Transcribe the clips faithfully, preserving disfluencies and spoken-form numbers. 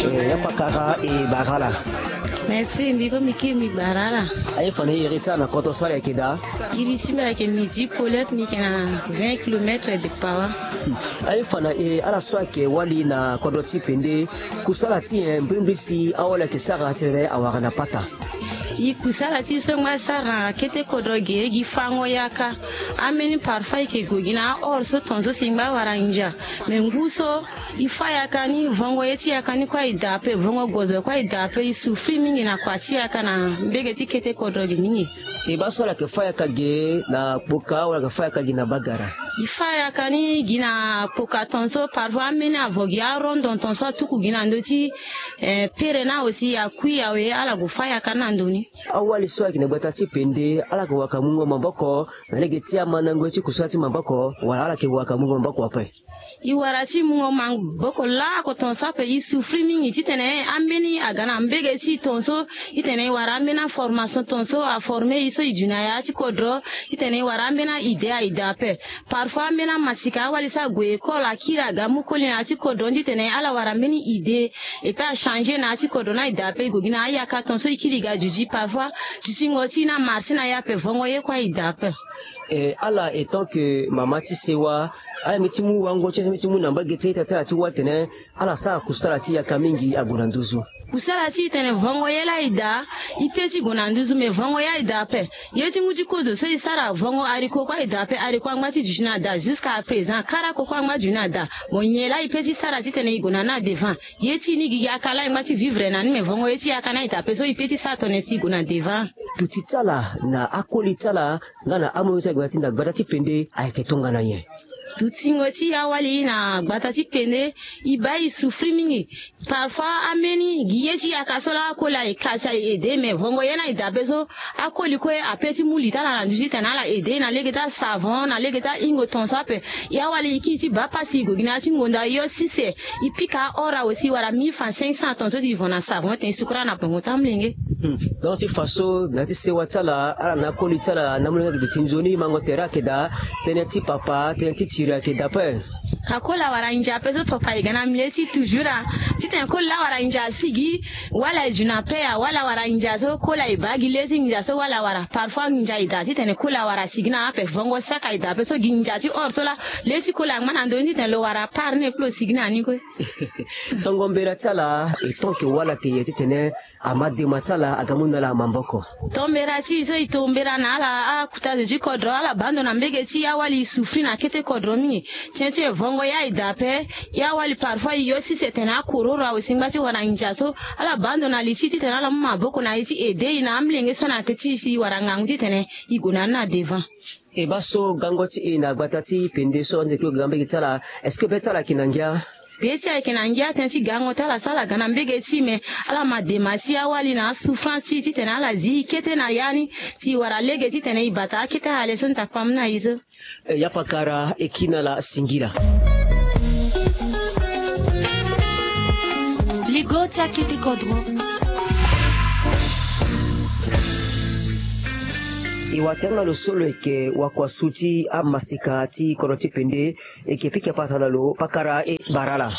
Eh, ya pakara e bara ala. Merci, mbi ko mbi kiri mbi bara ala. Aye fa na e iri ti ala na kodro so ala yeke daa? Iri ti mbi ayeke midi polete, mbi yeke na vingt kilomètre de Pawa. Aye fa na e ala so ayeke wali na kodro ti pende, kusala ti nyen mbirimbiri si awali ayeke sara titene awara na pata? E kusala ti e so e ngba sara na kete kodro ge, gi fango yaka. Ambeni parfois e yeke gue gi na ahore so tongaso si e ngba wara ngia. Me ngu so e fâ yaka ni, vongo ye ti yaka ni kue aye daa ape, vongo gozo kue aye daa ape. E souffrir mingi na kua ti yaka na mbege ti kete kodro ge mingi. E baa so ala yeke fâ yaka ge na kpoka wala ala yeke fâ yaka ge na bagara? E fâ yaka ni gi na kpoka tongaso, parfois ambeni avo gi arondon tongaso atuku gi na ndö ti, eh, pere ni awe si akui awe ala gue fâ yaka ni na ndo ni. Awali so ayeke na gbata ti pende, ala yeke waka mungo maboko na lege ti amandango ye ti kusala ti maboko, wala ala yeke waka mungo maboko ape? E wara ti mungo maboko laoko tongaso ape. E souffrir mingi titene ambeni aga na mbege ti e tongaso, titene e wara ambeni aformation tongaso aforme e so e du na ya ti kodro, titene e wara ambeni a-idée aye daa ape. Parfois ambeni amasika awali so ague école akiri aga mu koli na ya ti kodro ni titene ala wara mbeni idée, et puis achanger na ya ti kodro ni aye daa ape. E gue gi na ayaka tongaso e kiri ga duti, parfois dutingo ti e ni amarche na e ape, vongo ye kue aye daa ape. Eh, ala, en tant que mama ti sewa, ala mbi ti mu wango ti ala, mbi ti mu na mbage ti ita ti ala ti wali tene ala sara kusala ti yaka mingi ague na nduzu. Kusala ti e tene vongo ye laa aye daa, e pe ti gue na nduzu, me vongo ye aye daa ape. Ye ti ngu ti kozo so e sara, vongo haricot kue aye daa ape. Haricot angba ti duti na daa, jusqu'à présent karako kue angba duti na daa. Bon, nyen laa e pe ti sara titene e gue na ni na devant? Ye ti e ni gi yaka laa e ngba ti vivre na ni, me vongo ye ti yaka ni aye daa ape so e pe ti sara tongana nyen si e gue na devant. Duti ti ala na akoli ti ala nga na amoyo ti ala gbata ti pende ayeke tongana nyen? Dutingo ti e awali na gbata ti pende, e baa e souffrir mingi. Parfois ambeni gi ye ti yaka so laa akoli aye kasi aye aidé, me vongo ye ni aye daa ape so akoli kue ape ti mu li ti ala na nduzu titene ala aidé na lege ti asavon, na lege ti ahingo tongaso ape. E awali e kiri ti baa pasi, e gue gi na ya ti ngonda yo sise, e pika ahore awe si e wara mille francs cinq cents tongaso ti e vo na savon tene e sukura na pongo ti amolenge. Hmm. Donc ti fa so na ya ti sewa ti ala, ala na akoli ti ala na amolenge ayeke duti nzoni, mango tere ayeke daa, tënë ti papa, tënë ti tiri ayeke daa ape. Ka koli awara ngia ape so papa e ga na milieu ti e toujours a. Titene koli laa awara ngia asigi, wala e zu na pe ya, wala awara ngia so koli aye baa gi le ti ngia so wala awara. Parfois ngia e daa titene koli awara asigi na ape, vongo saka e daa ape so gi ngia ti hore so laa le ti koli angba na ndö ni titene lo wara apart ni e kue lo sigi na ni kue. Tongo mbela ti ala, e tant que wala ayeke ye titene ama dema ti ala aga mu na ala maboko. Tombera ti e so e tombera na ala akota zo ti kodro, ala baa ndo na mbege ti e awali e souffrir na kete kodro mingi. Tien ti e vongo ye aye daa ape, e awali parfois e yo sise tene akororo awe si e ngba ti wara ngia so, ala baa ndo na li ti e titene ala mu maboko na e ti aider e na amolenge so na ya ti e si e wara ngangu titene e gue na ni na devant. E baa so gango ti e na gbata ti pende so ande kue ga mbege ti ala, est-ce que be ti ala ayeke na ngia? Be ti e ayeke na ngia tënë ti gango ti ala so ala ga na mbege ti e, me ala ma dema ti e awali na asouffrance ti e titene ala zi e kete na ya ni si e wara lege titene e bata akete ahale so Nzapa amu na e so. Eh, ya pakara, e kiri na ala singila. Ligo ti akete kodro. E watanga lo so lo yeke wakuasu ti amaseka ti kodro ti pende, e yeke pika patara na lo, pakara, e bara ala.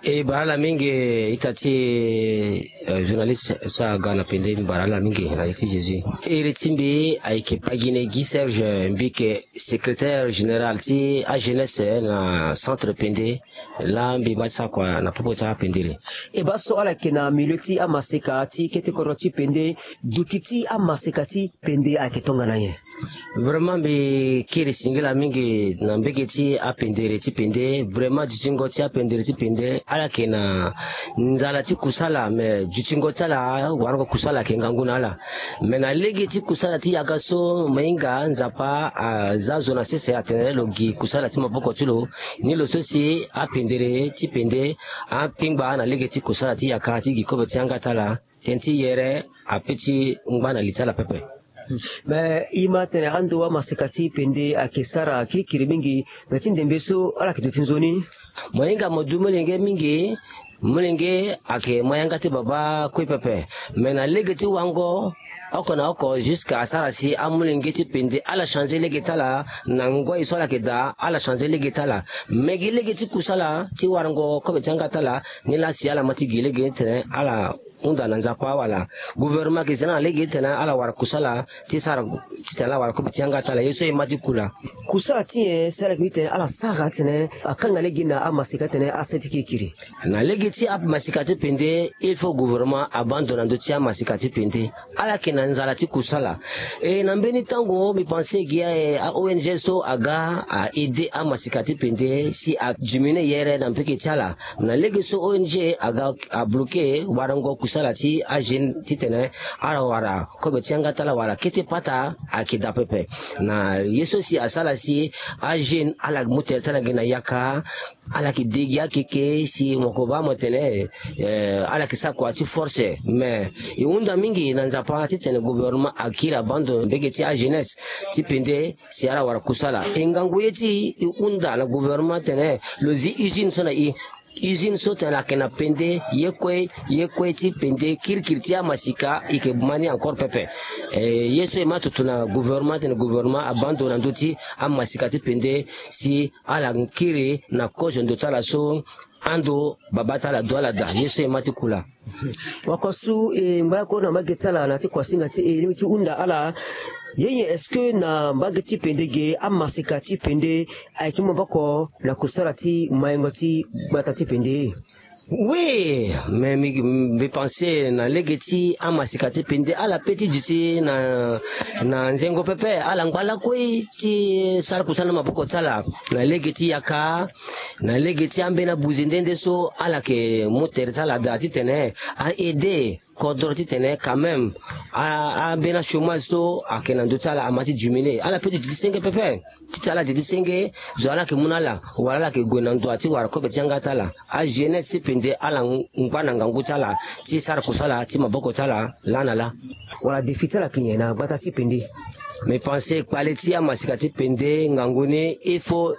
E bara ala mingi ita ti, eh, journaliste so aga na pende, mbi bara ala mingi na iri ti Jésus. Iri ti mbi ayeke Pagine Guy Serge, mbi yeke secrétaire général ti ajeunesse na centre pende. Laa mbi ma ti sara kua na popo ti apendere. E baa so ala yeke na milieu ti amaseka ti kete kodro ti pende, duti ti amaseka ti pende ayeke tongana nyen? Vraiment mbi kiri singila mingi na mbege ti apendere ti pende. Vraiment dutingo ti apendere ti pende ala yeke na nzala ti kusala, me dutingo ti ala warango kusala ayeke ngangu na ala. Me na lege ti kusala ti yaka so, mo hinga Nzapa aza zo na sese atene lo gi kusala ti maboko ti lo. Ni lo so si apendere ti pende akpengba na lege ti kusala ti yaka ti gi kobe ti yanga ti ala. Tënë ti yere ape ti ngba na li ti ala pepe. Me e ma tene ando amaseka ti pende ayeke sara kirikiri mingi, me ti ndembe so ala yeke duti nzoni? Mo hinga mo du molenge mingi. Molenge ayeke ma yanga ti baba kue pepe. Me na lege ti wango, oko na oko, jusqu'à asara si amolenge ti pende ala changer lege ti ala na ngoi so ala yeke daa, ala changer lege ti ala. Me gi lege ti kusala ti warango kobe ti yanga ti ala, ni laa si ala ma ti gi lege ni titene ala hunda na Nzapa, wala gouvernement ayeke zi na ala lege titene ala wara kusala ti sara titene ala wara kobe ti yanga ti ala. Ye so e ma ti kula. Kusala ti nyen si ala yeke mu titene ala sara titene akanga lege na amaseka titene asara ti kirikiri? Na lege ti amaseka ti pende, il faut gouvernement abaa ndo na ndö ti amaseka ti pende. Ala yeke na nzala ti kusala. E na mbeni tango mbi pense gi a, a O N G so aga a aider amaseka ti pende si a diminuer yere na mbeke ti ala. Na lege so O N G aga a bloquer warango kusala ti ajeune titene ala wara kobe ti yanga ti ala wala kete pata ayeke daa pepe. Na ye so si asara si ajeune ala mu tere ti ala ngia na yaka, ala yeke de gi akeke si mo ko baa mo tene, eh, ala yeke sara kua ti force. Mais e hunda mingi na Nzapa titene gouvernement akiri abaa ndo mbeke ti ajeunesse ti pende si ala wara kusala. E ngangu ye ti e hunda na gouvernement tene lo zi usine so na e. Usine so tene ayeke na pende, ye kue ye kue ti pende, kirikiri ti amasika e yeke ma ni encore pepe. Eh, ye so e ma tutu na gouvernement tene gouvernement abaa ndo na ndö ti amasika ti pende si ala kiri na kozo ndo ti ala so ando baba ti ala du ala daa. Ye so e ma ti kula. Wako su e ngba oko na mbage ti ala na ti kuasinga ti e lingbi ti hunda ala. Ye nyen, est-ce que na mbage ti pende ge amasika ti pende ayeke mu maboko na kusala ti mayengo ti gbata ti pende? Oui, mais mbi, mbi pense na lege ti amasika ti pende ala pe ti duti na, na nzengo pepe, ala ngba lakue ti sara kusala na maboko ti ala na lege ti yaka, na lege ti ambeni abuze nde nde so ala yeke mu tere ti ala daa titene a aider kodro titene quand même a, ambeni achômage so ayeke na ndö ti ala ama ti diminuer. Ala pe ti duti senge pepe. Titene ala duti senge, zo ala yeke mu na ala, wala ala yeke gue na ndo ti wara kobe ti yanga ti ala. Ajeunesse ti pende ala ngba na ngangu ti ala ti sara kusala ti maboko ti ala laa na laa. Wala défi ti ala yeke nyen na gbata ti pende? Mbi pense kpale ti amasika ti pende ngangu ni, il faut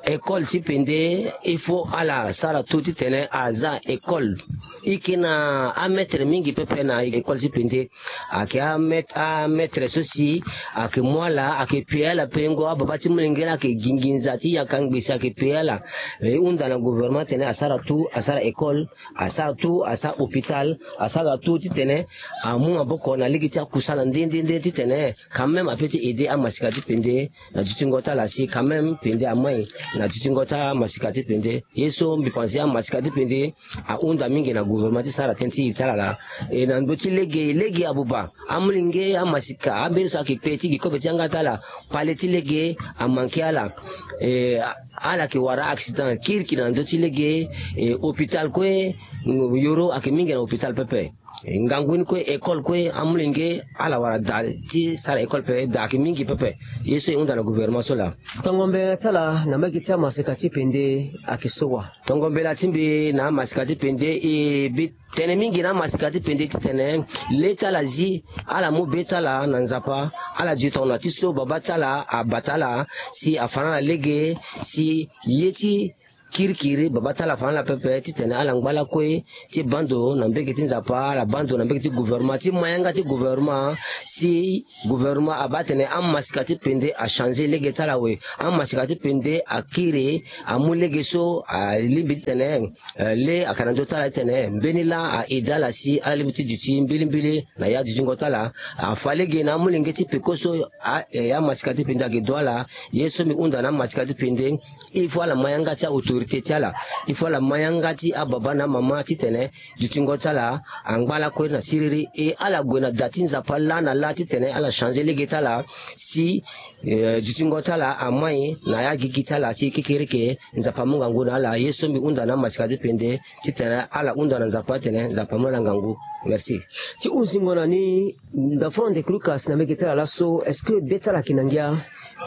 école ti pende, il faut ala sara tout titene aza école. E yeke na amaître mingi pepe na école ti pende. Ayeke amet-, amaître so si ayeke mu ala, ayeke pie ala pengo, ababa ti molenge laa ayeke gi nginza ti yaka ngbese, ayeke pie ala. E hunda na gouvernement titene asara tout, asara école, asara tout, asara hôpital, asara tout titene amu maboko na lege ti akusala nde nde nde titene quand même ape ti aider amasika ti pende na dutingo ti ala si quand même pende amai na dutingo ti amasika ti pende. Ye so mbi pense amasika ti pende ahunda mingi na gouvernement ti sara tënë ti e ti ala laa. E na ndö ti lege, lege abuba, amolenge, amasika, ambeni so ayeke pe ti gi kobe ti yanga ti ala, kpale ti lege amanke ala. E, ala yeke wara accident kirikiri na ndö ti lege. E, hôpital kue, yoro ayeke mingi na hôpital pepe. E, ngangu ni kue, école kue, amolenge ala wara daa ti sara école pepe, daa ayeke mingi pepe. Ye so e hunda na gouvernement so laa. Tongo mbela ti ala na mbage ti amasika ti pende ayeke so wa? Tongo mbela ti mbi na amasika ti pende, e bi tene mingi na amasika ti pende titene le ti ala zi, ala mu be ti ala na Nzapa, ala duti tongana ti so baba ti ala abata ala si afa na ala lege, si ye ti kirikiri baba ti ala afa na ala pepe titene ala ngba lakue ti baa ndo na mbage ti Nzapa, ala baa ndo na mbage ti gouvernement, ti ma yanga ti gouvernement, si gouvernement abaa tene amasika ti pende achanger lege ti ala awe. Amasika ti pende akiri amu lege so alingbi titene, eh, le ayeke na ndö ti ala titene mbeni laa a-aider ala si ala lingbi ti duti mbilimbili na ya dutingo ti ala. Afa lege na amolenge ti peko so a, eh, amasika ti pende ayeke du ala. Ye so mbi hunda na amasika ti pende, il faut ala ma yanga ti a-autorité ti ala. Il faut ala ma yanga ti ababa na amama titene dutingo ti ala angba lakue na siriri. E ala gue na da ti Nzapa laa na laa titene ala changer lege ti ala si, eh, dutingo ti ala amai na ya gigi ti ala si kekereke Nzapa amu ngangu na ala. Ye so mbi hunda na amasika ti pende titene ala hunda na Nzapa titene Nzapa amu na ala ngangu. Merci. Ti hunzingo na ni, Ndafon Ndekulukas na mbage ti ala laso, est-ce que be ti ala ayeke na ngia?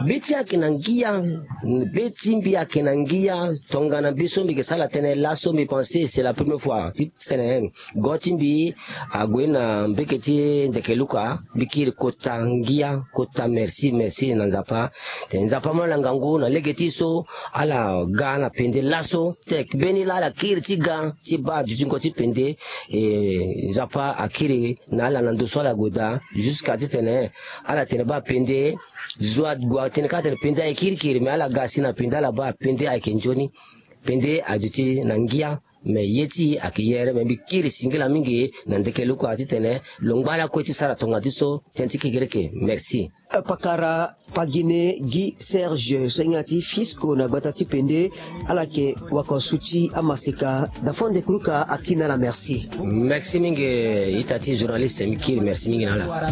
Be ti ala ayeke na ngia. Be ti mbi ayeke na ngia. Nga na mbi so mbi ke sara tënë laso, mbi pense c'est la première fois ti tene go ti mbi ague na mbeke ti ndeke luka. Mbi kiri kota ngia, kota merci, merci na Nzapa. Tene Nzapa amolanga ngu na lege ti so ala ga na pende laso. Te mbeni laa ala kiri ti ga ti baa dutingo ti pende. E, Nzapa akiri na ala na ndo so ala gue daa jusqu'à titene ala tene baa pende. Zo ague atene kâ atene pende ayeke kirikiri, me ala ga si na pende ala baa pende ayeke nzoni. Pende aduti na ngia, me ye ti ayeke yere. Me mbi kiri singila mingi na ndeke luka titene lo ngba lakue ti sara tonga ti so tënë ti kekereke. Merci. Pakara Pagine Guy Serge, senga ti Fisco na gbata ti pende, ala yeke wakosu ti amaseka. Dafo ndeke luka akiri na ala merci. Merci mingi ita ti journaliste, mbi kiri merci mingi na ala.